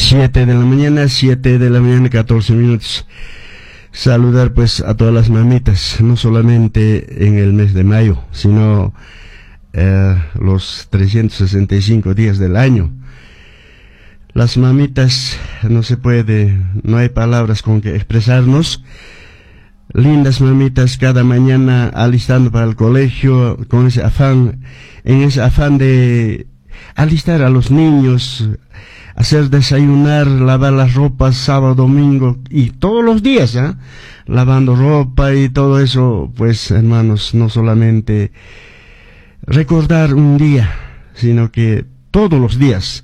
7 de la mañana, 7 de la mañana, 14 minutos. Saludar pues a todas las mamitas, no solamente en el mes de mayo, sino los 365 días del año. Las mamitas no se puede, no hay palabras con que expresarnos. Lindas mamitas cada mañana alistando para el colegio, con ese afán, en ese afán de alistar a los niños, hacer desayunar, lavar las ropas sábado, domingo y todos los días, ¿eh? Lavando ropa y todo eso, pues hermanos, no solamente recordar un día, sino que todos los días,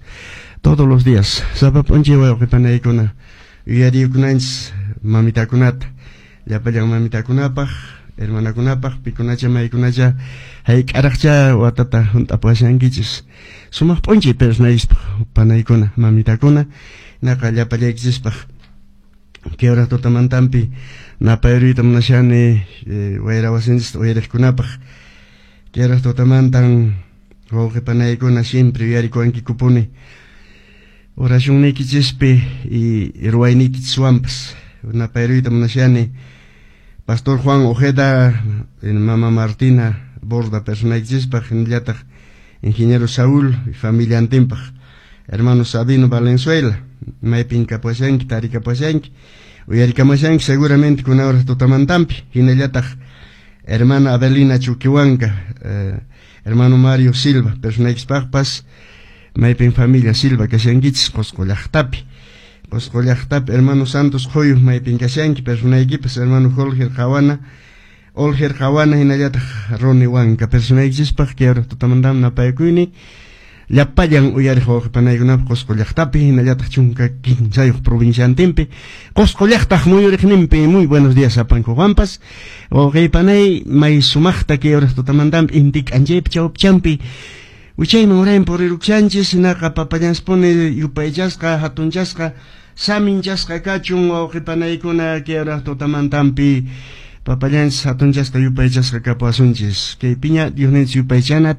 todos los días. Sapa p'unchay wawqi panaykuna yuyarikunanchis mamitakunata, llapallan mamitakunapaq, hermanakunapaq, pikunacha maykunacha hayk'araqcha watata hunt'apashankichis. Sumaq p'unchay personaykispaq panaykuna, mamitakuna, naqa llapallaykichispaq. Kay hora tutamantampi napayruyta munashani wayra wasinchista uyariqkunapaq. Kay hora tutamantan wawqi panaykuna siempre yuyarikuwankikupuni oracionniykichispi y ruwayniykichiswanpas. Napayruyta munashani Pastor Juan Ojeda, Mama Martina Borda personaykichispaq, hinallataq Ingeniero Saúl y familiantinpaq, hermano Sabino Valenzuela, maypin kapashanki, tarikapashanki, uyarikamashanki seguramente kuna hora tutamantampi, hinallataq hermana Adelina Chuquihuanca, hermano Mario Silva, personaykispaqpas, maypin familia Silva kashankichis Qosqo llaqtapi. Qosqo llaqtapi hermano Santos Joyo maypin kashanki, personaykipas hermano Jorge Qawana, Olger Qawana hinallataq Roni Huanca, personaykichispaq kay hora tutamantam napaykuyni llapallan uyariq wawqi panaykunapaq Qosqo llaqtapi hinallataq 13 provinciantinpi Qosqo llaqtaq muyuriqninpi. Muy buenos días sapanku Juanpas wawqi panay may sumaqta kay hora tutamantampi inti k'anchaypi chawpichampi wichayman urayman purirukshanchis hinaqa papallanspuni yupaychasqa hatunchasqa saminchasqa kachun wawqi panaykuna kay hora tutamantampi papallanchis hatunchasqa yupaychasqa kapuwasunchis kaypiña Diosninchis yupaychana.